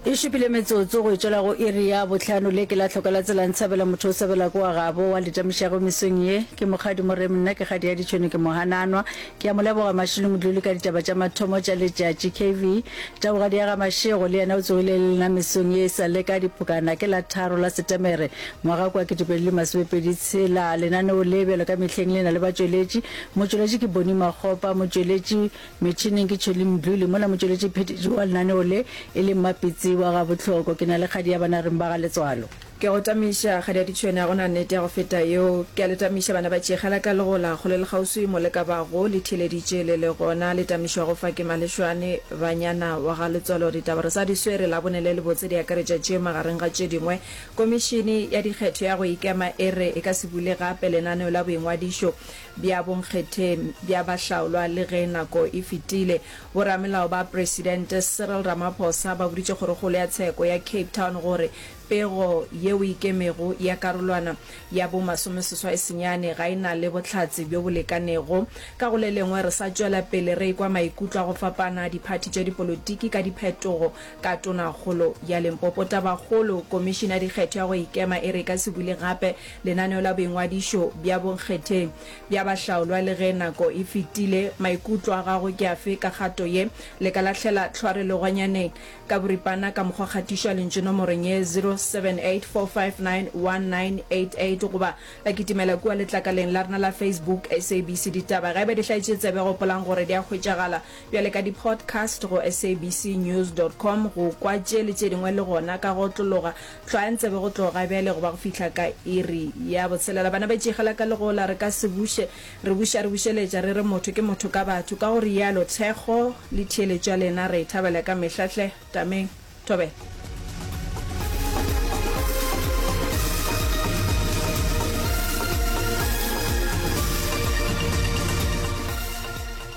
E šupile metsotso go e tšwela go iri ya bohlano. Le ke la hloka la tsela ntshabela motho o sabela ko wa gabo wa letamišago mesong ye. Ke Mokgadi Moremi nna ke kgadi ya ditšhwene ke mohananwa. Ke a mo leboga Mashilo Modluli ka ditaba tša mathomo tša letšatši. KV, Tabogadi ya ga Mashego le yena o tsogile le lena mesong ye e sa le ka diphokana ke la tharo la Setemere ngwaga kwa 2026 tshela. Lenaneo le bjalo ka mehleng le na le batšweletši. Motšweletši ke Bonnie Makgopa, motšweletši Metšhineng ke Tšhweli Mdluli, mola motšweletši phethiši wa lenaneo le e le Mmapitsi wa Gabohloko. Ke na le kgadi ya banareng ba ga Letswalo. Ke a go tamiša, kgadi ya ditšhwene, ga go na nnete ya go feta yeo. Ke a le tamiša, bana ba tšegela la ka legola, kgole le kgauswi mo le ka bago, le theeleditše le le gona. Le tamišwago fa ke Malešwane, banyana wa ga Letswalo. Ditaba re sa di swere, Labone le lebotse di akaretša tše magareng ga tše dingwe. Komišene ya Dikgetho ya go Ikema e re e ka se bule gape lenaneo la boingwadišo bja bonkgetheng bja bahlaolwa le ge nako e fetile. Boramelao ba Presidente Cyril Ramaphosa ba boditše Kgorokgolo ya Tsheko ya Cape Town gore pego yeo e ikemego ya karolwana ya bo masomeseswai-senyane ga e na le bohlatse bjo bo lekanego. Ka go le lengwe, re sa tšwela pele re ekwa maikutlo a go fapana a diphathi tša dipolotiki ka diphetogo ka Tonakgolo ya Limpopo. Tabakgolo, Komišene ya Dikgetho ya go Ikema e re e ka se bule gape lenaneo la boingwadišo bja bonkgetheng bja bahlaolwa le ge nako e fetile. Maikutlo a gago ke afe ka kgato ye? Le ka lahlela tlhware legwanyaneng ka boripana ka mokgwa kgatišo ya lentšu nomorong ye 0784591988 goba la kitimela kua letlakaleng la rena la Facebook SABC Ditaba. Ge eba di hlaetše tsebe gopolang gore di a hwetšagala Bjale ka di-podcast go sabcnews dot com go kwa tše le tše dingwe le gona ka go otlologa. Hlwayang tsebe go tloga bjale go ba go fihla ka iri ya botshelela. Bana ba tšegela ka legola, re ka se buše, re buša re bušeletša re re motho ke motho ka batho. Ka go realo thekgo le theeletšo ya lena re e thabela ka mehla hle. Tameng. Thobela.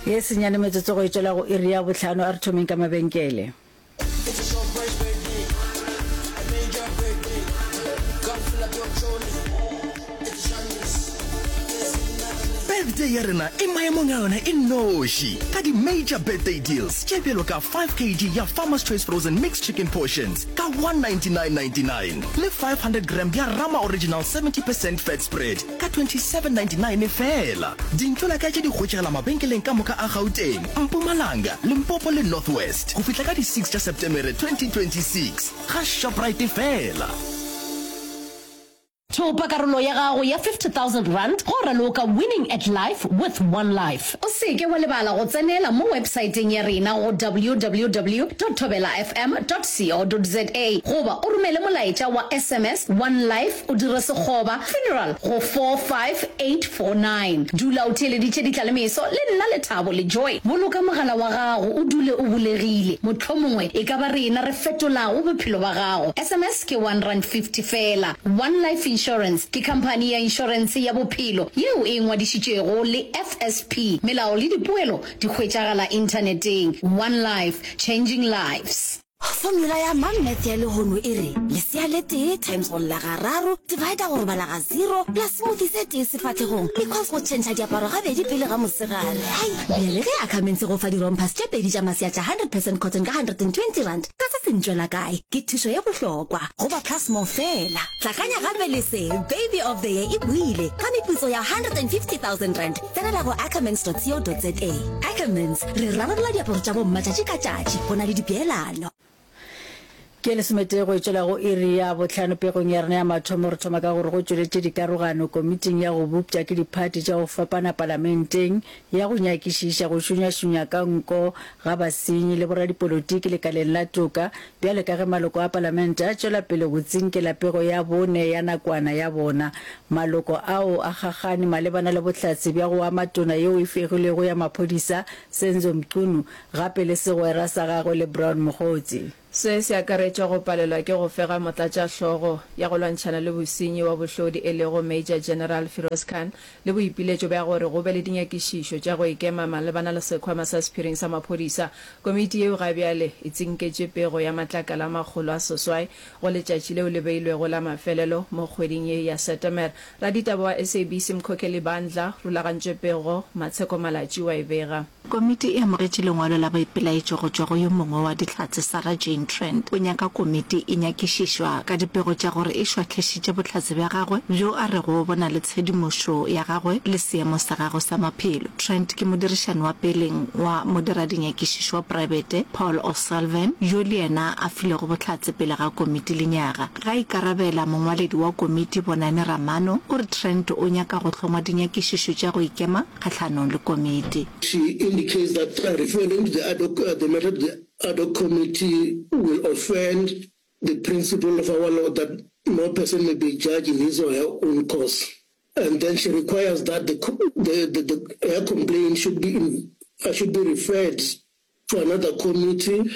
Ye senyane metsotso go e tšwela go iri ya bohlano, a re thomeng ka mabenkele. Birthday ya rena e maemong a yona e nnoši ka di-major birthday deals tše bjalo ka 5 kg ya Farmer's Choice Frozen Mixed Chicken Portions ka 199.99 le 500 gram ya Rama Original 70 percent Fat Spread ka 27.99 feela. Dintlo-la-kae tše di hwetšagala mabenkeleng ka moka a Gauteng, Mpumalanga, Limpopo le North West go fihla ka di 6 tša Setemere 2026 ga Shoprite feela. Thopa karolo ya gago ya R50,000 go raloka Winning at Life with One Life. O se ke wa lebala go tsenela mo websaeteng ya rena go www dot thobelafm dot co dot za goba o romele molaetša wa sms One Life o dire sekgoba funeral go 45849. Dula o theeleditše ditlalemeso le nna Lethabo le Joy. Boloka mogala wa gago o dule o bulegile, mohlomongwe e ka ba rena re fetolago bophelo ba gago. Sms ke R1.50 feela. One Life Insurance ke khamphani ya inšorense ya bophelo yeo e ngwadišitšwego le FSP. Melao le dipoelo di hwetšagala inthaneteng. One Life, changing lives. Formula ya Mom Math ya lehono e re, lesea le tee times go lla gararo, divider go robala ga zero, plus smoothie se tee sefahlegong, equals go tšhentšha diaparo gabedi pele ga mosegare. Hai! Bjale ge Ackermans e go fa di-rompers tše pedi tša masea tša 100 percent cotton ka R120, ka se se ntšwela kae? Ke thušo ye bohlokwa go ba Plus More feela. Hlakanya gape le se, Baby of the Year e boile ka meputso ya R150 000. Tsenela go ackermans.co.za. Ackermans, re rarolla diaparo tša bomma tšatši ka tšatši. Go na le dipeelano. Ke lesometee go e tšwela go iri ya bohlano pegong ya rena ya mathomo. Re thoma ka gore go tšweletše dikarogano komiting ya go bopša ke diphathi tša go fapana palamenteng ya go nyakišiša go šunyašunya ka nko ga basenyi le boradipolotiki lekaleng la toka bjale ka ge maloko a palamente a tšwela pele go tsinkela pego ya bone ya nakwana ya bona. Maloko ao a kgakgane malebana le bohlatse bja go ama tona yeo e fegilwego ya maphodisa Senzo Mchunu gape le segwera sa gagwe le Brown Mogotsi. Se se akaretša go palelwa ke go fega motlatšahlogo ya go lwantšhana le bosenyi wa bohlodi e lego Major General Firoz Khan le boipiletšo bja gore go be le dinyakišišo tša go ikema malebana le sekhwama sa sephiring sa maphodisa. Komiti yeo ga bjale e tsinketše pego ya matlakala a 600 go letšatši leo le beilwego la mafelelo mo kgweding ye ya Setemere. Raditaba wa SABC Mkhokheli Bandla rulagantše pego, Matsheko Malatji wa e bega. Komiti e amogetše lengwalo la boipelaetšo go tšwa go yo mongwe wa Dihlatse, Sarah Jane. Shane Trent o nyaka komiti e nyakišišwa ka dipego tša gore e šwahlešitše bohlatse bja gagwe bjo a rego bo na le tshedimošo ya gagwe le seemo sa gagwe sa maphelo. Trent ke modirišani wa peleng wa modiradinyakišišo wa praebete Paul O'Sullivan yo le yena a filego bohlatse pele ga komiti lenyaga. Ge a ikarabela, mongwaledi wa komiti Bonani Ramano o re Trent o nyaka go hlongwa dinyakišišo tša go ikema kgahlanong le komiti. She indicates that referring to the ad hoc, the matter to the ad hoc committee will offend the principle of our law that no person may be judged in his or her own cause. And then she requires that the, the, the, the, her complaint should be, in, should be referred to another committee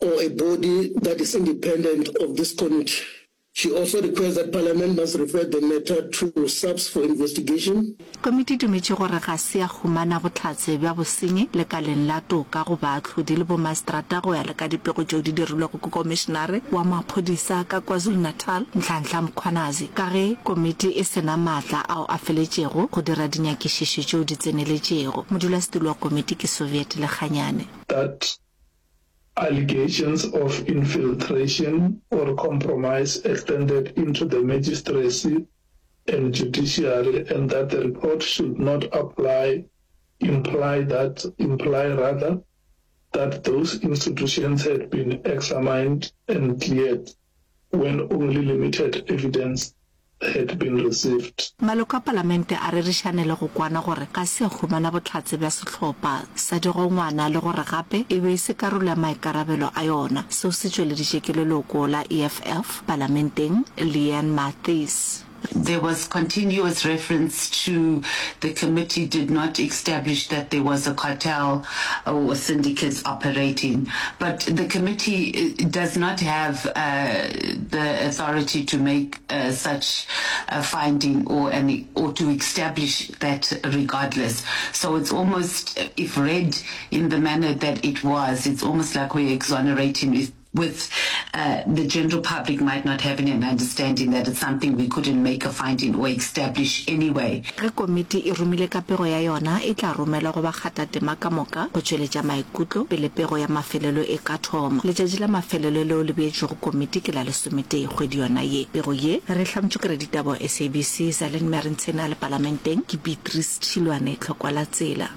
or a body that is independent of this committee. She also requests that Parliament must refer the matter to SAPS for investigation. Komiti e dumetše gore ga se ya humana bohlatse bja bosenyi lekaleng la toka go baahlodi le bomaseterata go ya le ka dipego tšeo di dirilwego ke Komišenare wa Maphodisa ka KwaZulu-Natal, Nhlanhla Mkhwanazi, ka ge komiti e se na maatla ao a feletšego go dira dinyakišišo tšeo di tseneletšego. Modulasetulo wa komiti ke Soviet Lekganyane. That allegations of infiltration or compromise extended into the magistracy and judiciary and that the report should not apply imply that imply rather that those institutions had been examined and cleared when only limited evidence had been received. Maloko a Palamente a rerišane le go kwana gore ga se a humana bohlatse bja sehlopha sa digongwana le gore gape e be e se karolo ya maikarabelo a yona. Seo se tšweleditše ke leloko la EFF Palamenteng, Leanne Mathys. There was continuous reference to the committee did not establish that there was a cartel or syndicates operating, but the committee does not have the authority to make such a finding or an or to establish that regardless. So it's almost, if read in the manner that it was, it's almost like we're exonerating if with uh, the general public might not having an understanding that it's something we couldn't make a finding or establish anyway. Ge komiti e romile ka pego ya yona, e tla romelwa go bakgathatema ka moka go tšweletša maikutlo pele pego ya mafelelo e ka thoma. Letšatši la mafelelo leo le beetšwego komiti ke la lesometee kgwedi yona ye. Pego ye re e hlamotšwe ke raditaba wa SABC, Zalene Merentshena le Palamenteng ke Beatrice Tšhilwane Tlhokwa la Tsela.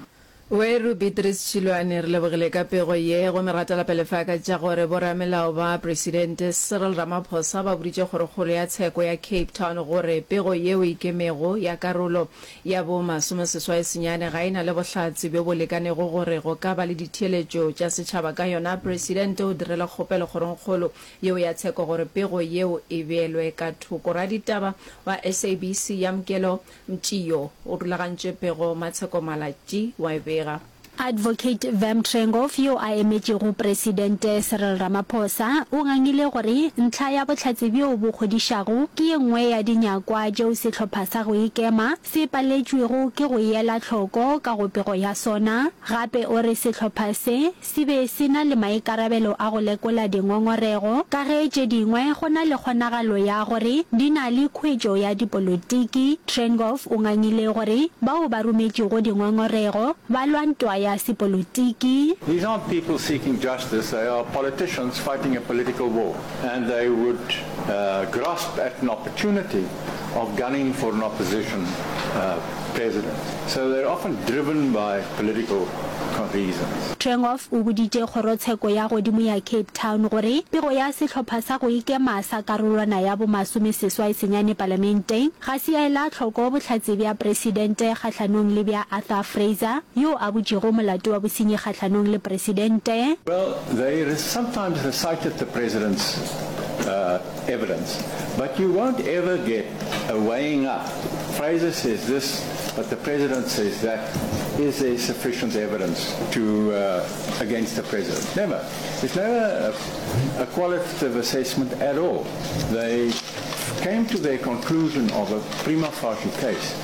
Weru Beatrice Tšhilwane, re lebogile ka pego ye. Gomme re gatela pele fa ka tša gore boramelao ba Presidente Cyril Ramaphosa ba boditše Kgorokgolo ya Tsheko ya Cape Town gore pego yeo e ikemego ya karolo ya bo masomeseswai senyane ga e na le bohlatse bjo bo lekanego gore go ka ba le ditheeletšo tša setšhaba ka yona. Presidente o dirile kgopelo Kgorongkgolo yeo ya Tsheko gore pego yeo e beelwe ka thoko. Raditaba wa SABC Yamkelo Mtšio o rulagantše pego Matsheko Malatji wa e bega. Advocate Vem Trengove yo a emetšego Presidente Cyril Ramaphosa o ngangile gore ntlha ya bohlatse bjo bo kgodišago ke ye nngwe ya dinyakwa tšeo sehlopha sa go ikema se paletšwego ke go e ela hloko ka go pego ya sona. Gape o re sehlopha se se be se na le maikarabelo a go lekola dingongorego ka ge tše dingwe go na le kgonagalo ya gore di na le khuetšo ya dipolotiki. Trengove o ngangile gore bao ba rometšego dingongorego ba lwa ntwa ya sepolotiki. These aren't people seeking justice, they are politicians fighting a political war and they would grasp at an opportunity of gunning for an opposition president. So they're often driven by political reasons. Trengove o boditše kgorotsheko ya godimo ya Cape Town gore pego ya sehlopha sa go ikema sa karolwana ya bo masomeseswai senyane palamenteng ga se ya ela hloko bohlatse bja presidente kgahlanong le bja Arthur Fraser yo a butšego molato wa bosenyi kgahlanong le presidente. Well, they sometimes recited the president's evidence, but you won't ever get a weighing up. Fraser says this, but the president says that. Is there sufficient evidence to uh, against the president? Never. There's never a, a qualitative assessment at all. They came to their conclusion of a prima facie case.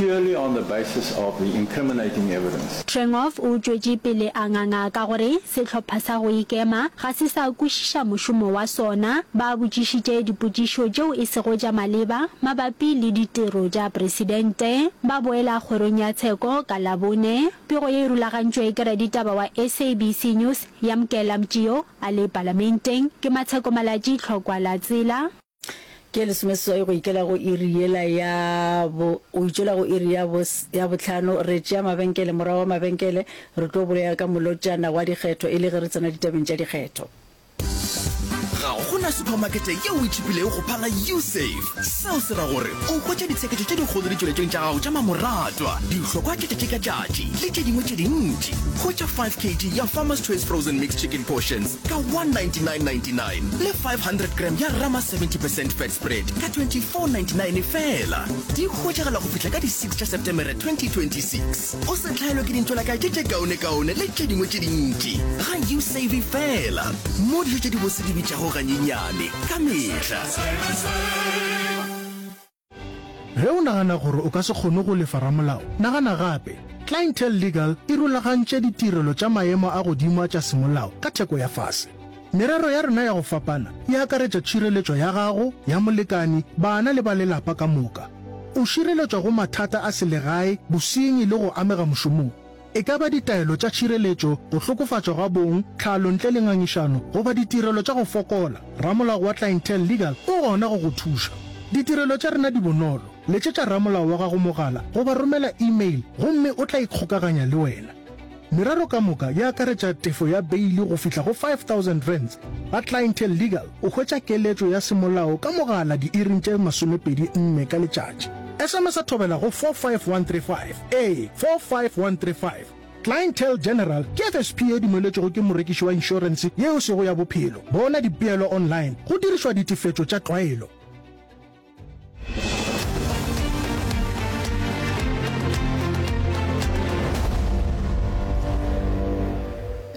purely on the basis of the incriminating evidence. Trengove o tšwetše pele a nganga ka gore sehlopha sa go ikema ga se sa kwešiša mošomo wa sona. Ba botšišitše dipotšišo tšeo e sego tša maleba mabapi le ditiro tša presidente. Ba boela kgorong ya tsheko ka Labone. Pego ye e rulagantšwe ke raditaba wa SABC News, Yamkela Mtjio, a le Palamenteng. Ke Matsheko Malatji, Tlhokwa la Tsela. Ke lesomeseswai go ikela go iri yela ya bo, go itšwela go iri ya bo, ya bohlano. Re tšea mabenkele, morago ga mabenkele, re tlo bolela ka molotšana wa dikgetho e le ge re tsena ditabeng tša dikgetho. Ga go na suphamakete yeo e tšhipilego go phala Usave. Seo se ra gore o hwetša ditsheketšo tše dikgolo ditšweletšong tša gago tša mamoratwa, dihlokwa tša tšatši ka tšatši le tše dingwe tše dintši. Hwetša 5 kg ya Farmer's Choice Frozen Mixed Chicken Portions ka 199.99 le 500 gram ya Rama 70 percent fat spread ka 24.99 feela. Di hwetšagala go fihla ka di 6 tša Setemere 2026. O se hlaelwe ke dintšwelakae tše tše kaonekaone le tše dingwe tše dintši ga Usave feela, mo dijo tše dibose di bitšago ganyenyane ka mehla. Ge o nagana gore o ka se kgone go lefa ramolao, nagana gape. Clientele Legal e rulagantše ditirelo tša maemo a godimo a tša semolao ka theko ya fase. Merero ya rena ya go fapana e akaretša tšhireletšo ya gago, ya molekani, bana le ba lelapa ka moka. O šireletšwa go mathata a selegae, bosenyi le go amega mošomong. E ka ba ditaelo tša tšhireletšo, go hlokofatšwa ga bong, tlhalo ntle le ngangišano, goba ditirelo tša go fokola, ramolao wa Clientele Legal o gona go go thuša. Ditirelo tša rena di bonolo, letšetša ramolao wa gago mogala goba romela email gomme o tla ikgokaganya le wena. Merero ka moka e akaretša tefo ya beili go fihla go R5000. Ga Clientele Legal o hwetša keletšo ya semolao ka mogala diiring tše 24 ka letšatši. SMS-a thobela go 45135. Ee, 45135. Clientele General ke FSP ye dumeletšwego ke morekiši wa inšorense ye e sego ya bophelo. Bona dipeelo online go dirišwa ditefetšo tša tlwaelo.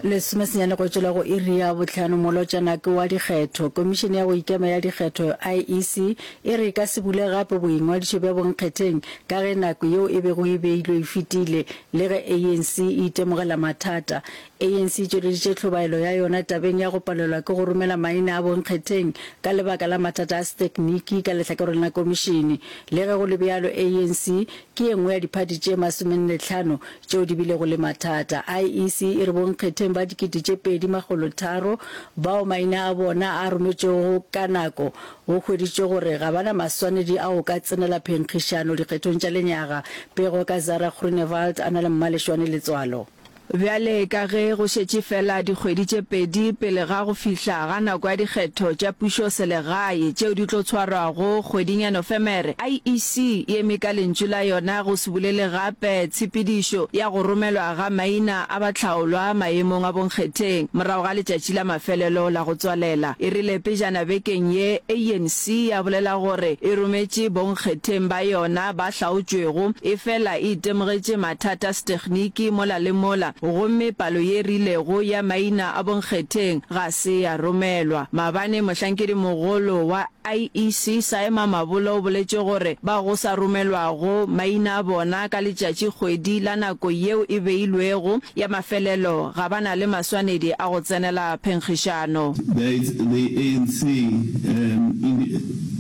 Lesomesenyane go tšwela go iri ya bohlano molotšana ke wa dikgetho. Komišene ya go Ikema ya Dikgetho, IEC, E re e ka se bule gape boingwadišo bja bonkgetheng ka ge nako yeo e bego e beilwe e fetile le ge ANC e itemogela mathata. ANC e tšweleditše tlhobaelo ya yona tabeng ya go palelwa ke go romela maina a bonkgetheng ka lebaka la mathata a setekniki ka lehlakoreng la komišene. Le ge go le bjalo, ANC ke ye nngwe ya diphathi tše masomennetlhano tšeo di bilego le mathata. IEC e re bonkgetheng ba 2300 bao maina a bona a rometšwego ka nako Go hweditšwe gore ga ba na maswanedi a go ka tsenela phenkgišano dikgethong tša lenyaga. Pego ka Zara Groenewald a na le Mmalešwane Letswalo. Bjale ka ge go šetše feela dikgwedi tše pedi pele ga go fihla ga nako ya dikgetho tša pušoselegae tšeo di tlo tshwarwago kgweding ya Nofemere, IEC e eme ka lentšu la yona go se bulele gape tshepedišo ya go romelwa ga maina a bahlaolwa maemong a bonkgetheng morago ga letšatši la mafelelo la go tswalela. E rile pejana bekeng ye, ANC ya bolela gore e rometše bonkgetheng ba yona ba hlaotšwego, efela e itemogetše mathata a setegniki mola le mola gomme palo ye rilego ya maina a bonkgetheng ga se ya romelwa. Maabane mohlankedimogolo wa IEC Saima Mabolo o boletše gore bao go sa romelwago maina a bona ka letšatši-kgwedi la nako yeo e beilwego ya mafelelo ga ba na le maswanedi a go tsenela phenkgišano. The ANC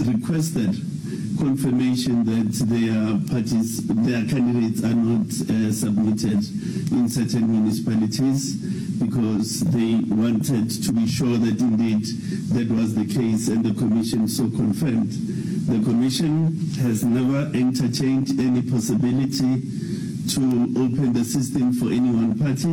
requested confirmation that their parties, their candidates are not submitted in certain municipalities because they wanted to be sure that indeed that was the case and the commission so confirmed. The commission has never entertained any possibility to open the system for any one party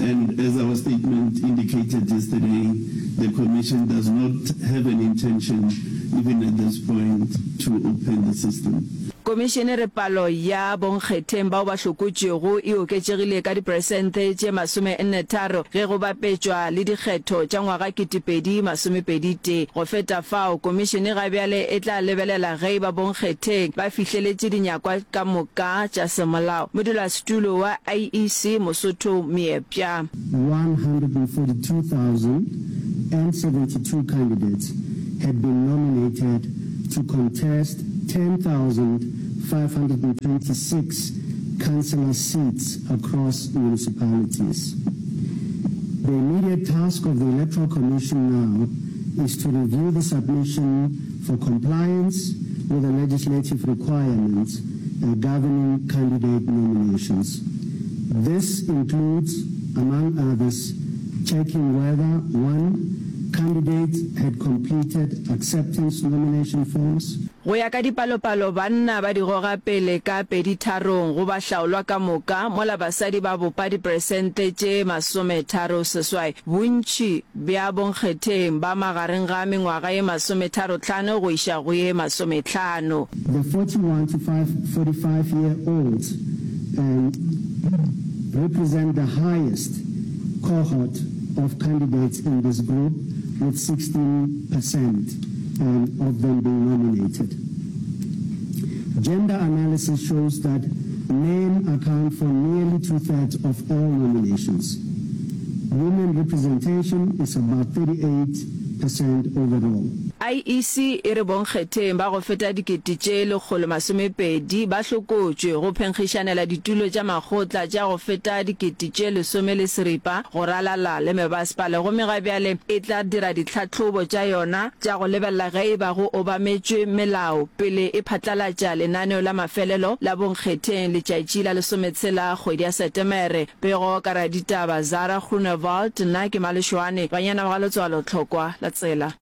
and as our statement indicated yesterday, the commission does not have an intention even at this point to open the system. Komišene e re palo ya bonkgetheng bao ba hlokotšwego e oketšegile ka diperesente tše 43 ge go bapetšwa le dikgetho tša ngwaga 2021. Go feta fao, komišene ga bjale e tla lebelela ge e ba bonkgetheng ba fihleletše dinyakwa ka moka tša semolao. Modulasetulo wa IEC Mosotho Meepja. 142,072 candidates had been nominated to contest 10,000. 526 councillor seats across municipalities. The immediate task of the Electoral Commission now is to review the submission for compliance with the legislative requirements uh, governing candidate nominations. This includes, among others, checking whether, one, candidates had completed acceptance nomination forms. Go ya ka dipalopalo, banna ba di goga pele ka peditharong go bahlaolwa ka moka, mola basadi ba bopa diperesente tše masometharoseswai. Bontši bja bonkgetheng ba magareng ga mengwaga ye masometharotlhano go iša go ye masometlhano. The 41 to 45 year olds um represent the highest cohort of candidates in this group with 16 percent um of them being nominated. Gender analysis shows that men account for nearly two-thirds of all nominations. Women representation is about 38 percent overall. IEC e re bonkgetheng ba go feta dikete tše 120 ba hlokotšwe go phenkgišanela ditulo tša makgotla tša go feta dikete tše lesome le seripa go ralala le mebasepala gomme ga bjale e tla dira ditlhahlobo tša yona tša go lebelela ge e ba go obametšwe melao pele e phatlalatša lenaneo la mafelelo la bonkgetheng letšatši la lesometshela kgwedi ya Setemere. Pego ka raditaba Zara Groenewald, Nna ke Malešoane, banyana ba ga Letswalo Tlhokwa la Tsela.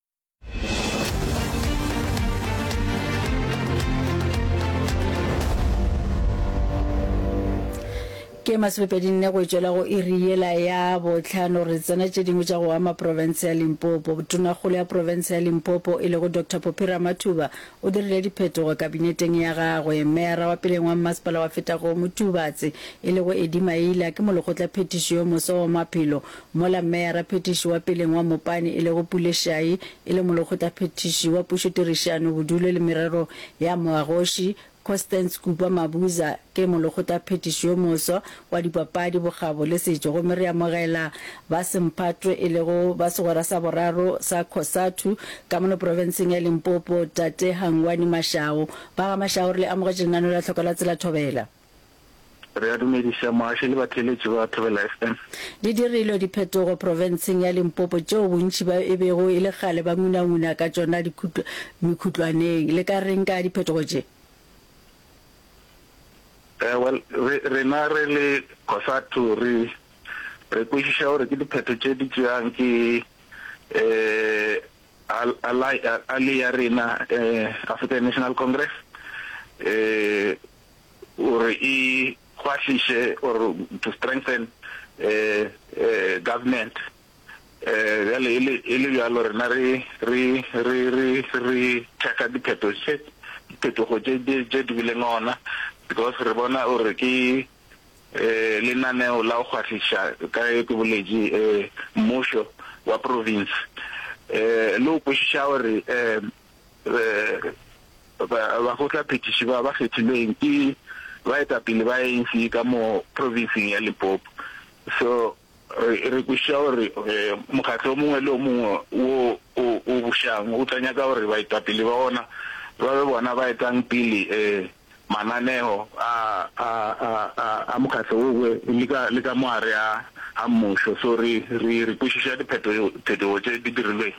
Ke masomepedinne go tšwela go iri yela ya bohlano re tsena tše dingwe tša go ama profense ya Limpopo. Tonakgolo ya profense ya Limpopo e lego Doctor Phophi Ramathuba o dirile diphetogo kabineteng ya gagwe. Meyara wa peleng wa mmasepala wa Fetago Motubatse e lego Eddie Maila ke molekgotlaphethiši yo moswa wa maphelo mola meyara phethiši wa peleng wa Mopani e lego Pule Shai e le molekgotlaphethiši wa pušotirišano, bodulo le merero ya moagoši. Constance Kupa Mabuza ke molekgotlaphethiši yo moswa wa dipapadi, bokgabo le setšo gomme re amogela ba semphato e lego ba segwera sa boraro sa Cosatu ka mono profenseng ya Limpopo, Tate Hangwani Mashao. Ba ga Mashao re le amogetše lenaneo la Tlhoko la Tsela Thobela. Re a dumediša moaši le batheeletši ba Thobela FM. Di dirilwe diphetogo profenseng ya Limpopo tšeo bontši ba e bego e le kgale ba ngunanguna ka tšona mekhutlwaneng. Le ka reng ka diphetogo tše? Eh, well, re, rena re le COSATU re, re kwešiša gore ke diphetho tše di tšeang ke eh, ally, ally ya rena eh, African National Congress eh, gore e kgwahliše or to strengthen government. Bjale e le e le bjalo rena re re re re re thekga dipheto tše diphetogo tše tše di bileng gona because re bona gore ke lenaneo la go kgwahliša ka ge ke boletše mmušo wa province le go kwešiša gore Bakgotlaphethiši ba ba kgethilweng ke baetapele ba ANC ka mo provinseng ya Limpopo. So re re kwešiša gore mokgatlo o mongwe le o mongwe wo o o bušang o tla nyaka gore baetapele ba ona ba be bona ba etang pele mananeo a a a a a mokgatlo owe le ka le ka mo gare a a mmušo. So re re re kwešiša dipheto phetogo tše di dirilweng.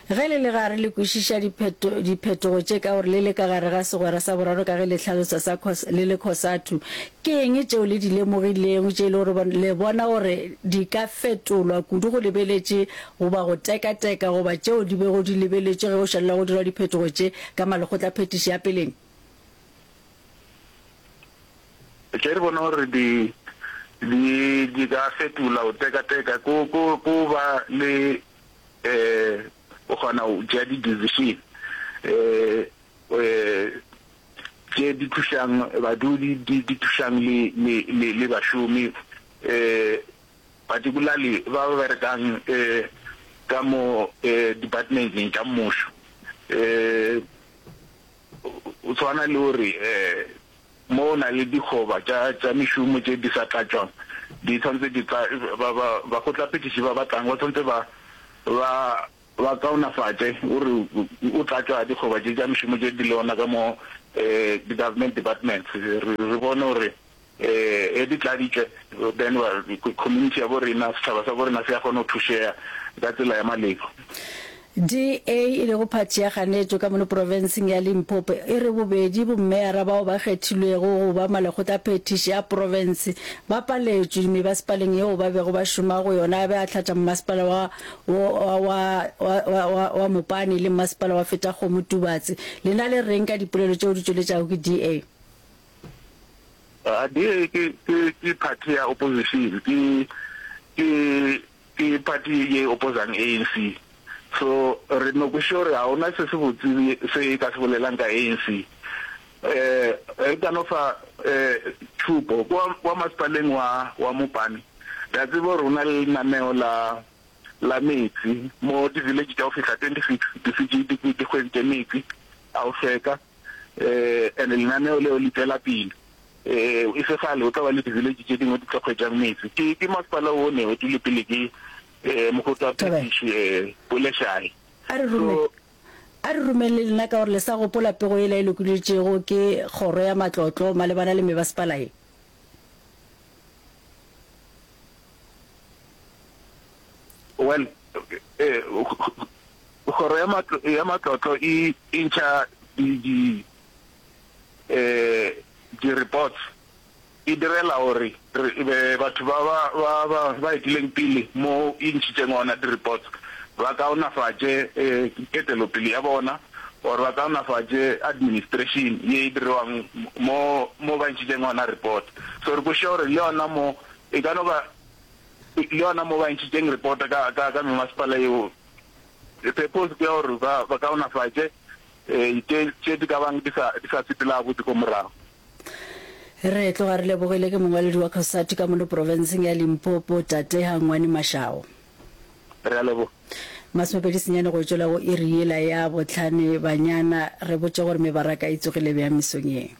Ge le le gare le kwešiša dipheto, diphetogo tše ka gore le le ka gare ga segwera sa boraro ka ge le hlalosa sa Cos, le le Cosatu, ke eng tšeo le di lemogilego tše e le gore le bona gore di ka fetolwa kudu go lebeletše goba go tekateka goba tšeo di bego di lebeletšwe ge go šalela go dirwa diphetogo tše ka malekgotlaphethiši a peleng? Tše re bona gore di, di, di ka fetola go tekateka ko, ko, ko ba le um o kgona go tšea di-decision um tše di thušang badudi, di di thušang le le le le bašomi um particularly ba ba berekang um ka mo departmenteng tša mmušo um o tshwana le gore um Mo go na le dikgoba tša, tša mešomo tše di sa tlatšwang, di tshwanetse di tla, ba, ba, bakgotlaphethiši ba ba tlang ba tshwanetse ba, ba, ba kaonafatše gore o tlatšwa dikgoba tše tša mešomo tše di le gona ka mo di-government departments re re bone gore ge di tladitšwe then community ya bo rena, setšhaba sa bo rena se a kgona go thušega ka tsela ya maleba. DA, e lego phathi ya kganetšo ka mono profenseng ya Limpopo, e re bobedi bommeyara bao ba kgethilwego go ba malekgotlaphethiši a profense ba paletšwe mebasepaleng yeo ba bego ba šoma go yona a be a hlatša mmasepala wa wa wa wa wa wa Mopani le mmasepala wa Fetakgomo Tubatse. Lena le reng ka dipolelo tšeo di tšweletšago ke DA? DA ke ke ke party ya opposition, ke ke ke party ye opposang ANC. So re no kwešiša gore ga gona se se botse se e ka se bolelang ka ANC. Eh re ka no fa eh tšhupo kwa kwa masepaleng wa wa Mopani re a tseba gore go na le lenaneo la la meetse mo di village tša go fihla 26 di šetše di di hweditše meetse a go hlweka. Eh, and lenaneo leo le tšwela pele. Eh, e se kgale o tla ba le di-village tše dingwe di tlo hwetšang meetse. Ke, ke masepala wo ne o tule pele ke eh, mokgotla phetiši eh, Polešae. A re rome, So, a re romeng le lena ka gore le sa gopola pego yela e lokolotšego ke Kgoro ya Matlotlo malebana le mebasepala ye. Well, eh, Kgoro ya matlo, ya matlotlo e, e ntšha di, di, eh, di reports e direla gore re, be, batho ba, ba, ba, ba, ba etileng pele mo e ntšhitšeng gona di reports ba kaonafatše eh, ketelopele ya bona or ba kaonafatše administration ye e diriwang mo, mo ba ntšhitšeng gona report. So re kwešiša gore le yona mo e ka no ba le yona mo ba ntšhitšeng report ka, ka, ka memasepala yeo Purpose ke ya gore ba ba kaonafatše tše tše di ka bang di sa di sa sepela gabotse ko morago. Re tloga re lebogile ke mongwaledi wa Cosatu ka mono profenseng ya Limpopo, Tate Hangwani Mashao. Re a leboga. 29 senyane go tšwela go iri yela ya bohlane banyana re botše gore mebaraka e tsogile bjang mesong ye.